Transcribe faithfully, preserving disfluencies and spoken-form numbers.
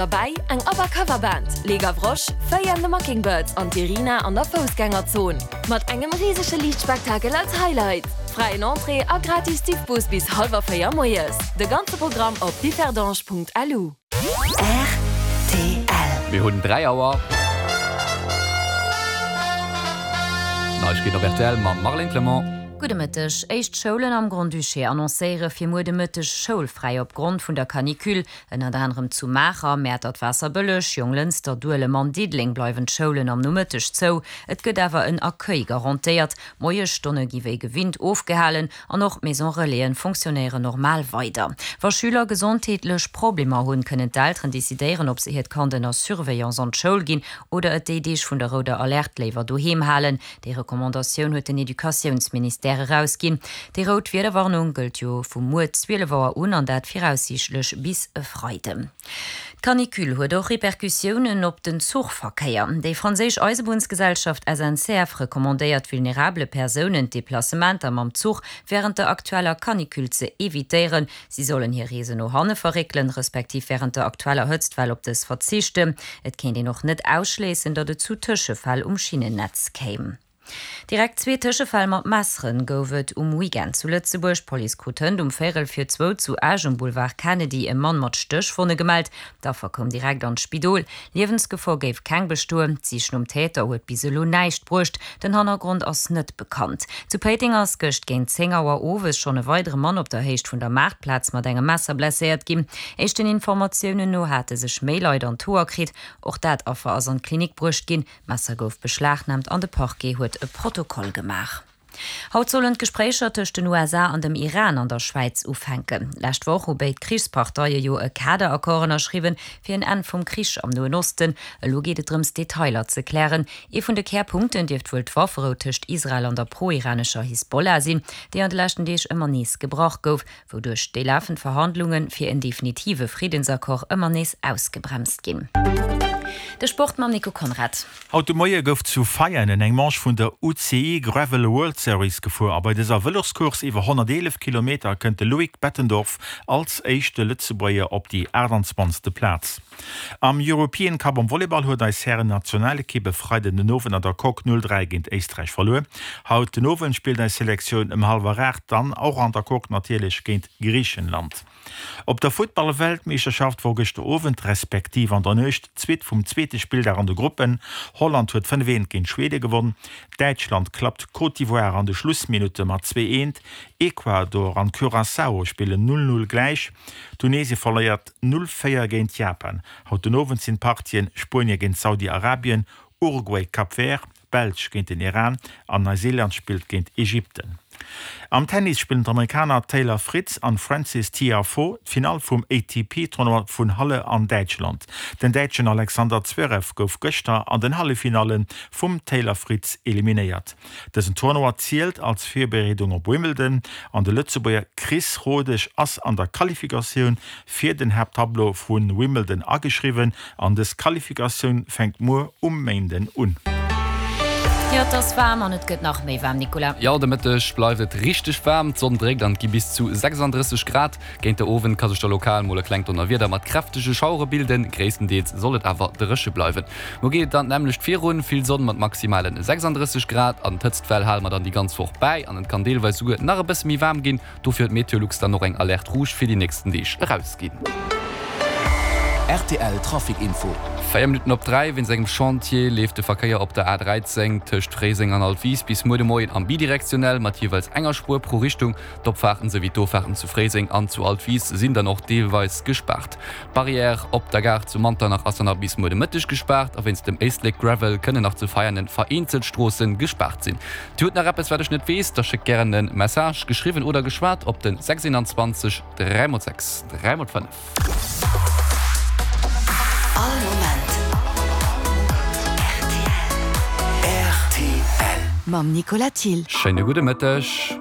Derbäi eng ABBA Cover Band, Les Gavroches, Feuille and the Mockingbirds an d'Irina an der Foussgängerzon. Mat engem risege Liichtspektakel als Highlight. Fräien Entrée a gratis Diffbus bis hallwer véier moies. De ganze Programm op differdange.lu. Rtl. Mir hunn dräi Auer. Neiegkeeten op rtl mam Marlène Clement. Gudde Mëtteg. Éischt Schoulen am Grand-Duché annoncéiere fir muer de Mëtteg schoulfräi op Grond vun der Canicule. Ënnert anerem zu Maacher, Mäertert, Waasserbëlleg, Jonglënster, Duelem an Diddeleng bleiwen d'Schoulen am Nomëtteg zou. Et gëtt awer en Accueil garantéiert. D'Moiesstonne gi wéi gewinnt ofgehalen an och d'Maison Relaisen fonctionnéieren normal weider. Wa Schüler gesondheetlech Problemer hunn, kënnen d'Elteren decidéieren, ob se hiert Kand ënner Surveillance an d'Schoul ginn oder et déi Deeg vun der rouder Alerte léiwer doheem halen. Déi Recommandatioun huet den Educatiounsministère erausginn. Déi rout Wiederwarnung gëllt jo vu muer zwielef Auer un an dat viraussiichtlech bis e Freiden. D'Canicule huet och Repercussiounen op den Zuchverkéier. Déi franséisch Eisebunnsgesellschaft S N C F recommandéiert vulnerabele Persounen d'Deplacementer mam Zuch wärend der aktueller Canicule ze evitéieren. Si sollen hir Reesen no hanne verréckelen, respektiv wärend der aktueller Hëtztwell op dës verzichten. Et kéint een och net ausschléissen, datt et zu Tëschefäll um Schinnennetz kéim. Direkt zwee Tëschefäll mat Messeren gouf et um Weekend zu Lëtzebuerg. D'Police krut hënt um Véierel vir zwou zu Esch um Boulevard Kennedy e Mann mat Stéchwonne gemellt. D'Affer koum direkt an d'Spidol. Liewensgefor géif keng bestoen. D'Sich nom Täter huet bis elo näischt bruecht. Den Hannergrond ass net bekannt. Zu Péiteng ass gëscht géint zéng Auer owes schonn e weidere Mann op der Héicht vun der Maartplaz mat engem Messer blesséiert ginn. Éischten Informatiounen no hate sech méi Leit an d'Hoer kritt. Och dat Affer ass an d'Klinik bruecht ginn. D'Messer gouf beschlagnaamt an de Parquet huet e Protokoll gemaach. Haut sollen d'Gespréicher tëscht den U S A an dem Iran an der Schwäiz ufänken. Lescht Woch hu béid Krichsparteie jo e Kaderaccord ënnerschriwwen fir en Enn vum Krich am Noen Osten. Elo geet et drëms, Detailer ze klären. Ee vun de Kärpunkten dierft wuel d'Wafferou tëscht Israel an der pro-iranescher Hisbollah sinn, déi an de leschten Deeg ëmmer nees gebrach gouf, wouduerch déi lafend Verhandlunge fir en definitive Friddensaccord ëmmer nees ausgebremst ginn. De Sport mam Nico Conrad. Haut de Moie gouf zu Veianen eng Manche vun der U C I Gravel World Series gefuer a bei dëser Vëloscourse iwwer honnerteelef Kilometer kënnt de Loïc Bettendorf als éischte Lëtzebuerger op déi aachtanzwanzegste Plaz. Am European Cup am Volleyball huet eis Hären-Nationalekipp e Freiden den Owend an der Coque null dräi géint Éisträich verluer. Haut den Owend spillt eis Selektioun ëm hallwer aacht dann och an der Coque natierlech géint Griichenland. Op der Futtball-Weltmeeschterschaft wor gëschter Owend respektiv an der Nuecht d'Suite vum zweete Spilldag an de Gruppen. Holland huet fënnef eent géint Schwede gewonn, Däitschland klappt Côte d'Ivoire an de Schlussminutte mat zwee eent, Ecuador an Curaçao spillen null null gläich, Tunesie verléiert null véier géint Japan. Haut den Owend sinn d'Partien Spuenie géint Saudi-Arabien, Uruguay, Cap Vert, Belsch géint den Iran an Neuseeland spillt géint Ägypten. Am Tennis spillen d'Amerikaner Taylor Fritz an Frances Tiafoe d'Finall vum A T P-Tournoi vun Halle an Däitschland. Den Däitschen Alexander Zverev gouf gëschter an den Halleffinalle vum Taylor Fritz eliminéiert. Dësen Tournoi zielt als Virbereedung op Wimbledon an de Lëtzebuerger Chris Rodesch ass an der Qualifikatioun fir den Haapttableau vu Wimbledon ageschriwwen an dës Qualifikatioun fänkt muer um Méinden un. Jo, et ass waarm an et gëtt nach méi waarm, Nicolas. Jo, de Mëtteg bleift et richteg waarm, d'Sonn dréckt an et gi bis zu sechsanddrësseg Grad. Géint de Owend ka sech da lokal mol e klengt Donnerwieder mat kräftege Schauere bilden, gréisstendeels soll et awer dréche bleiwen. Muer geet et dann d'nämmlecht virun, vill Sonn mat maximale sechsanddrësseg Grad an d'Hëtztwell hale mer dann déi ganz Woch bäi an et kann deelweis souguer nach e bësse méi waarm ginn. Dofir huet Meteolux dann och eng Alerte rouge fir déi nächsten Deeg erausginn. R T L Trafic Info. Véier Minutten op dräi. Wéinst engem Chantier leeft de Verkéier op der A dräizéng tëscht Fréiseng an Altwis bis muer de Moien am bidirektionell mat jeeweils enger Spuer pro Richtung. D'Opfaarten souwéi d'Offaarten zu Fréiseng an zu Altwis sinn dann och deelweis gespaart. D'Barrière op der Gare zu Manternach ass dann nach bis muer de Mëtteg gespaart a wéinst dem Éislek Gravel kënnen nach zu Veianen vereenzelt Stroosse gespaart sinn. Dir hutt nach eppes wat ech net weess? Da schéckt gären e Message, geschriwwen oder geschwat, op den sechs een zwanzeg dräi mol sechs dräi mol fënnef. All Moment R T L. Mam Nicolas Thill. Schéine gudde Mëtteg.